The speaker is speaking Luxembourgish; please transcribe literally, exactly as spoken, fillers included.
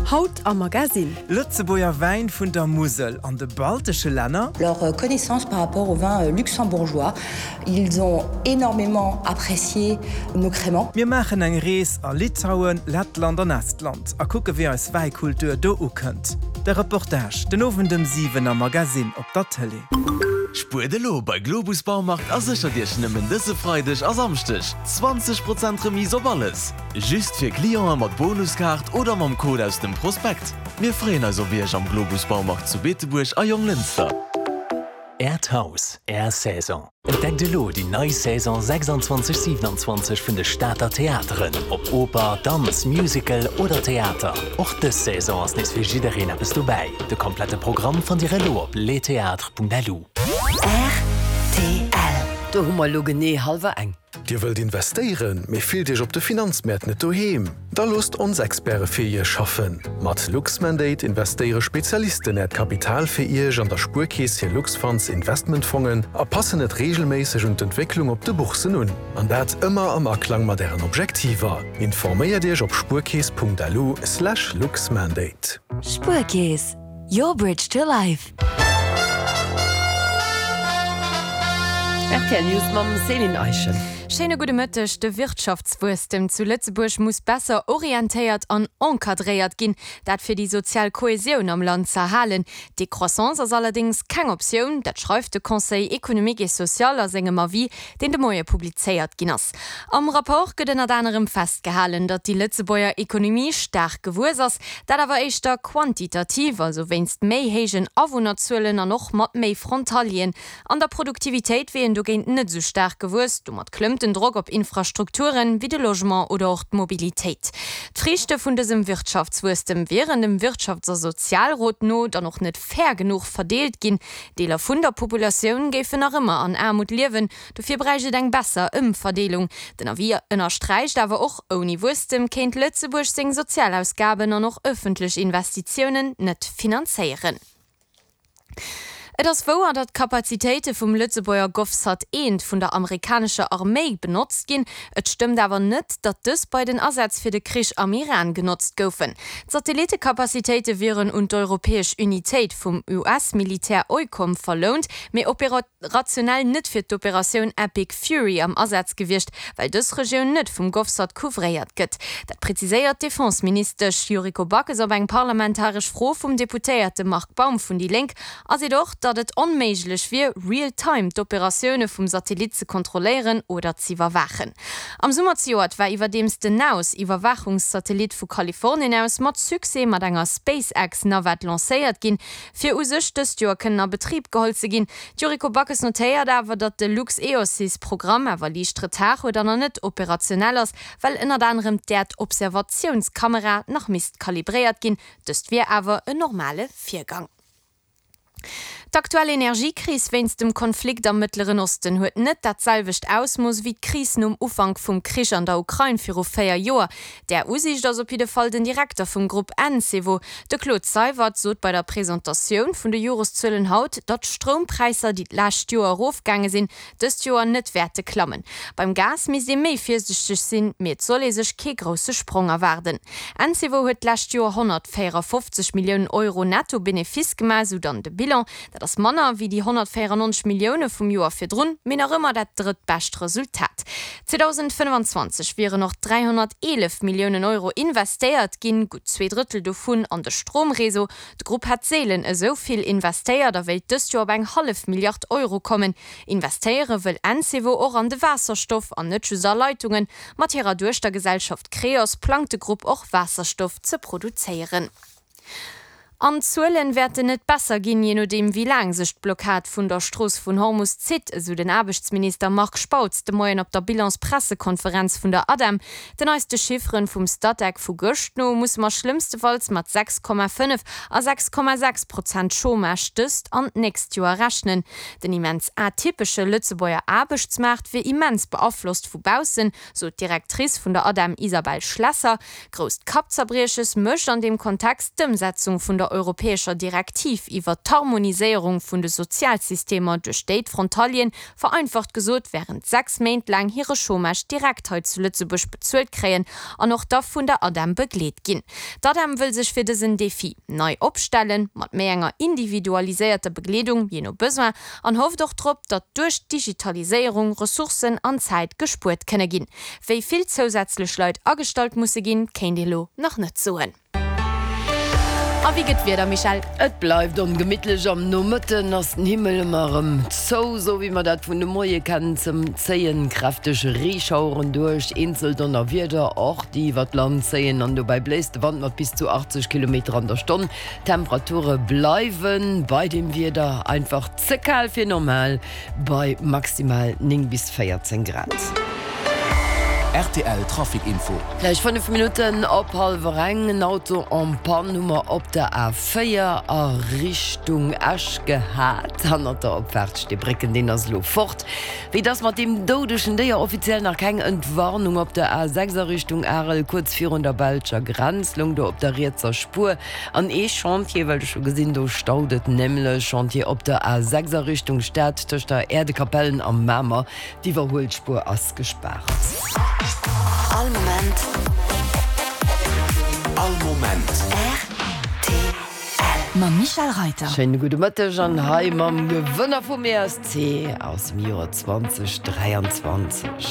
Haut am Magazine. Lëtzebuerger Wäin vun der Musel an de baltesche Länner. Leur connaissance par rapport au vin luxembourgeois. Ils ont énormément apprécié nos crémants. Mir maachen eng Rees a Litauen, Lettland an Estland a kucke wéi eis Wäikultur do ukënnt. De Reportage den Owend um siwen am Magazine op der Tëlee. Spuert elo bei Globus Baumarkt a séchert Iech nëmmen dëse Freideg a Samschdeg zwanzeg Prozent Remise op alles! Just fir Clienten mat Bonuskaart oder mam Code aus dem Prospekt. Mir freeën eis op Iech am Globus Baumarkt zu Beetebuerg a Jonglënster. Äert Haus, Är Saison. Entdeckt elo déi nei Saison sechsundzwanzeg siewenundzwanzeg vun de Stater Theateren. Ob Oper, Danz, Musical oder Theater. Och dës Saison ass nees fir jiddereen eppes dobäi. De komplette Programm fannt Dir elo op lestheatres Punkt L U. R T L. Do hu mer elo genee hallwer eng. Dir wëllt investéieren, mee fillt Iech op de Finanzmäert net doheem? Da loosst ons Experte fir Iech schaffen. Mat Luxmandate investéiere Spezialisten Äert Kapital fir Iech an der Spuerkeess hir Luxfunds Investmentfongen a passen et reegelméisseg un d'Entwécklung op de Boursen un. An dat ëmmer am Aklang mat Ären Objektiver. Informéiert Iech op spuerkeess Punkt L U slash luxmandate. Spuerkeess, your bridge to life. R T L News mam Céline Eischen. Schéine gudde Mëtteg. De Wirtschaftswuesstem zu Lëtzebuerg muss besser orientéiert an encadréiert ginn, dat fir déi sozial Kohäsioun am Land z'erhalen. Décroissance ass allerdéngs keng Optioun, dat schreift de Conseil économique et social a sengem Avis, deen de Moie publizéiert ginn ass. Am Rapport gëtt ënnert anerem festgehalen, datt déi Lëtzebuerger Ekonomie staark gewuess ass, dat awer éischter quantitativ, also wéinst méi héijen Awunnerzuelen an och mat méi Frontalieren. An der Produktivitéit wier een dogéint net esou staark gewuess, domat klëmmt den Drock op Infrastrukturen, wéi de Logement oder och d'Mobilitéit. D'Friichte vun dësem Wirtschaftswuesstem wieren dem Wirtschafts a Sozialrot no dann och net fair genuch verdeelt ginn. Deeler vun der Populatioun géifen nach ëmmer an Aarmut liewen, dofir bräicht et eng besser Ëmverdeelung. Den Avis ënnersträicht awer och, ouni Wuesstem kéint Lëtzebuerg seng Sozialausgaben an och ëffentlech Investitiounen net finanzéieren. Et ass wouer, datt d'Kapazitéite vum Lëtzebuerger GovSat eent vun der amerikanescher Arméi benotzt ginn. Et stëmmt awer net, datt dës bei den Asätz fir de Krich am Iran genotzt goufen. D'Satellitekapazitéite wieren un d'europäesch Unitéit vum U S-Militär EUCOM verlount, mee operationell net fir d'Operatioun Epic Fury am Asaz gewiescht, well dës Regioun net vum GovSat couvréiert gëtt. Dat präziséiert d'Defenseministesch Yuriko Backes op eng parlamentaresch Fro vum Deputéierte Marc Baum vun déi Lénk a seet och, datt et onméiglech wier, real-time d'Operatioune vum Satellit ze kontrolléieren oder z'iwwerwaachen. Am Summer zejoert war iwwerdeems den NAOS Iwwerwaachungssatellit vu Kalifornien aus mat Succès mat enger SpaceX-Navette lancéiert ginn, fir u sech dëst Joer kënnen a Betrib geholl ze ginn. D'Yuriko Backes notéiert awer, datt de LuxEOSys-Programm awer liicht Retard huet an nach net operationell ass, well ënnert anerem d'Äerdobservatiounskamera nach misst kalibréiert ginn. Dëst wier awer en normale Virgang. D'aktuell Energiekris wéinst dem Konflikt am Mëttleren Osten huet net dat selwecht Ausmooss wéi d'Kris nom Ufank vum Krich an der Ukrain viru véier Joer. Där Usiicht ass op jidde Fall den Direkter vum Grupp Encevo. De Claude Seywert sot bei der Presentatioun vun de Joreszuelen haut, datt d'Stroumpräisser, déi d'lescht Joer erofgaange sinn, dëst Joer net wäerte klammen. Beim Gas misst ee méi virsiichteg sinn, mee et soll ee sech kee grousse Sprong erwaarden. Encevo huet d'lescht Joer honnertvéierafofzeg Milliounen Euro Netto-Benefice gemaach, sou dann de Bilan. Dat ass manner wéi déi honnertvéierannonzeg Millioune vum Joer virdrun, mee nach ëmmer dat drëttbescht Resultat. zweedausendfënnfanzwanzeg wieren och dräihonnerteelef Milliounen Euro investéiert ginn, gutt zwee Drëttel dovun an de Stroumreseau. De Grupp hätt seelen esou vill investéiert a wéilt dëst Joer op eng hallef Milliard Euro kommen. Investéiere wëll Encevo och an de Waasserstoff an net just a Leitungen. Mat hirer Duechtergesellschaft Creos plangt de Grupp och Waasserstoff ze produzéieren. An d'Zuelen wäerten net besser ginn, jee nodeem wéi laang sech d'Blockad vun der Strooss vun Hormus zitt, esou den Aarbechtsminister Marc Spautz de Moien op der Bilanspressekonferenz vun der ADEM. Den neiste Chifferen vum Statec vu gëscht no musse mer schlëmmstefalls mat sechs Komma fënnef a sechs Komma sechs Prozent Chômage dëst an d'nächst Joer rechnen. Den immens atypesche Lëtzebuerger Aarbechtsmaart wier immens beaflosst vu baussen, sot d'Directrice vun der ADEM Isabelle Schlesser. Grousst Kappzerbrieches mécht an deem Kontext d'Ëmsetzung vun der der europäescher Direktiv iwwer d'Harmoniséierung vun de Sozialsystemer, duerch déi d'Frontalieren, vereinfacht gesot, wärend sechs Méint laang hire Chômage direkt hei zu Lëtzebuerg bezuelt kréien an och da vun der ADEM begleet ginn. D'ADEM wëll sech fir dësen Defi nei opstellen, mat méi enger individualiséierter Begleedung, jee no Besoin, an hofft och drop, datt duerch d'Digitaliséierung Ressourcen an Zäit gespuert kënne ginn. Wéi vill zousätzlech Leit agestallt musse ginn, kéint ee lo nach net soen. A wéi gëtt d'Wieder, Michèle? Et bleift ongemittlech, am Nomëtten ass den Himmel ëmmer erëm zou, sou wéi mer dat vun de Moie kennen. Zéien kräfteg Reeschaueren duerch, eenzel Donnerwieder och, déi iwwer d'Land zéien an dobäi bléist de Wand mat bis zu achtzeg Kilometer an der Stonn. D'Temperature bleiwe bei deem Wieder einfach ze kal fir normal, bei maximal néng bis véierzéng Grad. Rtl Trafic Info. Gläich fënnef Minutten op hallwer eng. En Auto en panne hu mer op der A véier a Richtung Esch gehat. Hannert der Opfaart Steebrécken. Deen ass elo fort. Wéi et ass mat deem doudegen Déier? Offiziell nach keng Entwarnung op der A sechs a Richtung Arel, kuerz virun der belscher Grenz, loung do op der rietser Spuer an ee Chantier, well ech hu gesinn, do staut et nämlech. Chantier op der A sechs a Richtung Stad tëscht der Äerdekapellen a Mamer. D'Iwwerhuelspuer ass gespaart. All Moment. All Moment. Rtl. Mam Michèle Reiter. Schéine gudde Mëtteg an hei mam Gewënner vum E S C aus dem Joer zwanzeg dräianzwanzeg.